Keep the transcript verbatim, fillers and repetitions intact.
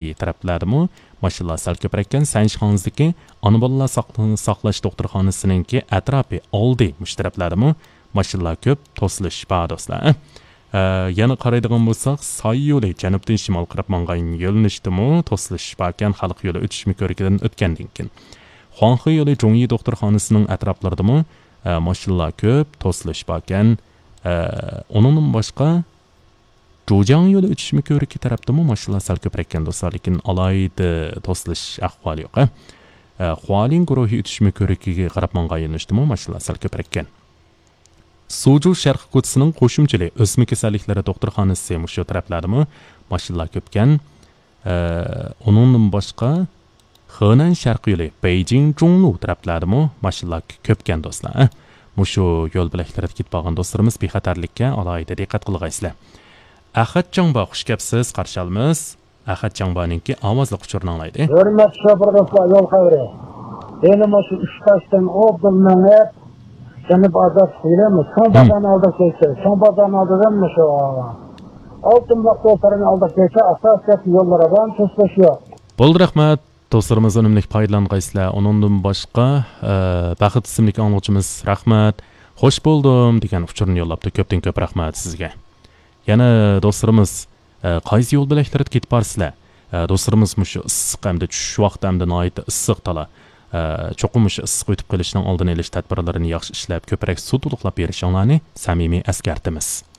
تەرەپلەردىمۇ ماشىنىلار سەل كۆپرەككەن. سەنشىخاڭزىدىكى ئانا بالىلار ساقلىنىش، ساقلاش دوختۇرخانىسىنىڭكى ئەتراپى ئالدى مۇشۇ تەرەپلەردىمۇ ماشىنىلار كۆپ، توسۇلۇش بار دوستلار. ئە، يەنە قارايدىغان بولساق، ساي يولى جەنۇبتىن شىمال قاراپ ماڭغان يۆنىلىشتىمۇ توسۇلۇش باركەن، خەلق يولى ئۆتۈشمە كۆرۈكىدىن ئۆتكەندىن كېيىن. خۇاڭخې يولى جۇڭيى دوختۇرخانىسىنىڭ ئەتراپلىرىدىمۇ، ئە، ماشىنىلار كۆپ، توسۇلۇش باركەن. ئە، ئۇنىڭدىن باشقا، جۇجياڭ يولى ئۆتۈشمە كۆرۈكى تەرەپتىمۇ ماشىنىلار سەل كۆپرەككەن دوستلار، لېكىن ئالاھىدە توسۇلۇش ئەھۋالى يوق، ھە. ئە، خۇالىن گۇرۇھى ئۆتۈشمە كۆرۈكىگە قاراپ ماڭغان يۆنىلىشتىمۇ ماشىنىلار سەل كۆپرەككەن. سۇجۇ شەرقىي كوچىسىنىڭ قوشۇمچىلىق ئۆسمە كېسەللىكلىرى دوختۇرخانىسى مۇشۇ تەرەپلەردىمۇ ماشىنىلار كۆپكەن. ئە، ئۇنىڭدىن باشقا، خېنەن شەرقىي يولى بېيجىڭ جۇڭلۇ تەرەپلەردىمۇ ماشىنىلار كۆپكەن دوستلار. مۇشۇ يول بۆلەكلىرىدە كېتىپ بارغان دوستلىرىمىز بىخەتەرلىككە ئالاھىدە دىققەت قىلغايسىلەر. ئەخەت جاڭبا، خۇش كەپسىز، قارشى ئالىمىز. ئەخەت جاڭبانىڭكى ئاۋازلىق ئۇچۇرىنى ئاڭلايلى. ھۆرمەتلىك شوپۇر دوستلار، يول خەۋىرى. يەنە مۇشۇ ئۈچ تاشتىن ئوبدان مېڭىپ، يەنە بازار سۈيلەممۇ. چوڭ بازارنى ئالداپ كەتسە، چوڭ بازارنى ئالدىدىن مۇشۇ ئالتۇن بۇلاق يول تەرەپنى ئالداپ كەتسە، ئاساسىي يوللار بار، توسۇلۇش يوق. بولدى، رەھمەت. دوستلىرىمىز ئۈنۈملۈك پايدىلانغايسىلەر. ئۇنىڭدىن باشقا، ئە، بەخت ئىسىملىك ئاڭلىغۇچىمىز، رەھمەت، خوش بولدۇم دېگەن ئۇچۇرنى يوللاپتۇ. كۆپتىن كۆپ رەھمەت سىزگە. يەنە دوستلىرىمىز، ئە، قايسى يول بۆلەكلىرىدە كېتىپ بارسىلەر؟ ئە، دوستلىرىمىز مۇشۇ ئىسسىق ھەمدە چۈش ۋاقتى ھەمدە ناھايىتى ئىسسىق تالا. ئە، چوقۇم مۇشۇ ئىسسىق ئۆتۈپ قېلىشنىڭ ئالدىنى ئېلىش تەدبىرلىرىنى ياخشى ئىشلەپ، كۆپرەك سۇ تولۇقلاپ بېرىشىڭلارنى سەمىمىي ئەسكەرتىمىز.